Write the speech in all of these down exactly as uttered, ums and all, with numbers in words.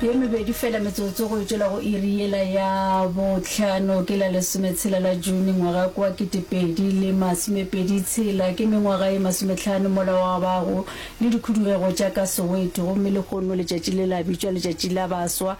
Ye mebedi fela metsotso go tšwela go iri yela ya bohlano ke la lesometshela la June ngwaga kwa ketepedi le masomepedi tshela ke mengwaga ye masometlhano mola wa bago le dikhudugego tša ka Soweto gomme lehono letšatši le la bitšwa letšatši la baswa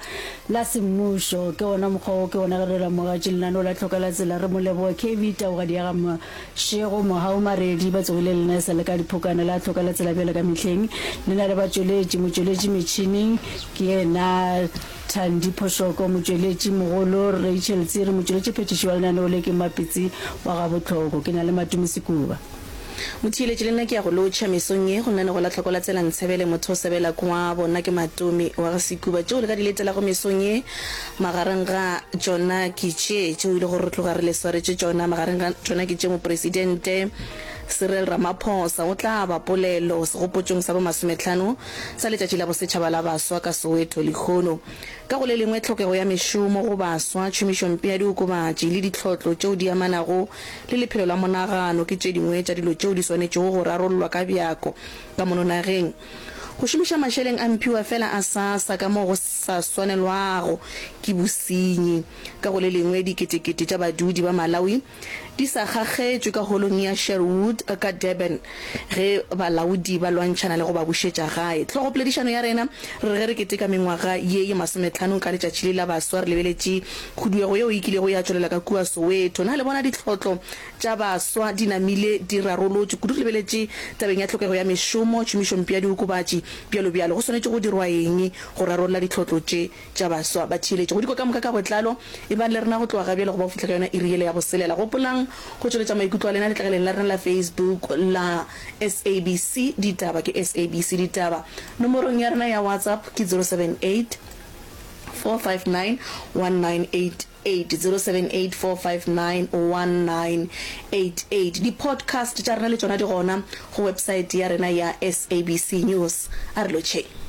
la semmušo ke ona mokgwa wo ke ona ge re ramogatše lenaneo la tlhoka la tsela re mo leboga K V Taugadi ya ga Mošego Mohau Maredi ba tsogile lena e sa le ka diphokana la tlhoka la tsela bjale ka mehleng le na le batšweletši motšweletši metšhineng ke yena Thandi Phošoko motšweletši mogolo Rachel Tsiri motšweletši phethiši wa lenaneo le ke Mapitsi wa Gabohloko ke na le Matome Sekuba. Motheeletši le nna ke ya go lotšha mesong ye go lenanego la Tlhoko la Tsela Ntshebele motho o sebela kwa bona ke Matome wa ga Sekuba. Tšeo le ka di letelago mesong ye magareng ga tšona ke tše tšeo e le gore re tloga re le swaretše tšona magareng ga tšona ke tše Mopresidente Cyril Ramaphosa o tla aba polelo segopotšong sa bomasometlhano sa Letšatši la Bosetšhaba la Baswa ka Soweto lehono. Ka go le lengwe, tlhokego ya mešomo go baswa, tšhomišompe ya diokobatši le ditlhotlo tšeo di amanago le lephelo la monagano ke tše dingwe tša dilo tšeo di swanetšego go rarollwa ka bjako ka mono nageng. Go šomiša mašeleng a mphiwafela a SASSA ka mo go sa swanelwago ke bosenyi. Ka go le lengwe, diketekete tša badudi ba Malawi di sa kgakgetšwe ka holong ya Sherwood ka Durban ge balaodi ba lwantšhana le go ba bušetša gae. Hlogopoledišano ya rena re re ge re keteka mengwaga ye ye masometlhano ka letšatši le la baswa re lebeletše khuduego yeo e kilego ya tšwelela ka kua Soweto. Na le bona ditlhotlo tša baswa di namile di rarolotšwe kudu re lebeletše tabeng ya tlhokego ya mešomo, tšhomišompe ya diokobatši, bjalo bjalo? Go swanetše go dirwa eng go rarolla ditlhotlo tše? Tša baswa ba theeletše go dikwa ka moka ka botlalo. Ebang le rena go tloga gabjale go ba go fihla ka yona iri yela ya boselela. Gopolang go tšweletša maikutlo a lena letlakaleng la rena la Facebook la S A B C Ditaba, ke S A B C Ditaba. Nomorong ya rena ya WhatsApp ke zero seven eight four five nine one nine eight eight, zero seven eight four five nine one nine eight eight. Di-podcast tša rena le tšona di gona go website ya rena ya S A B C News. A re lotšheng.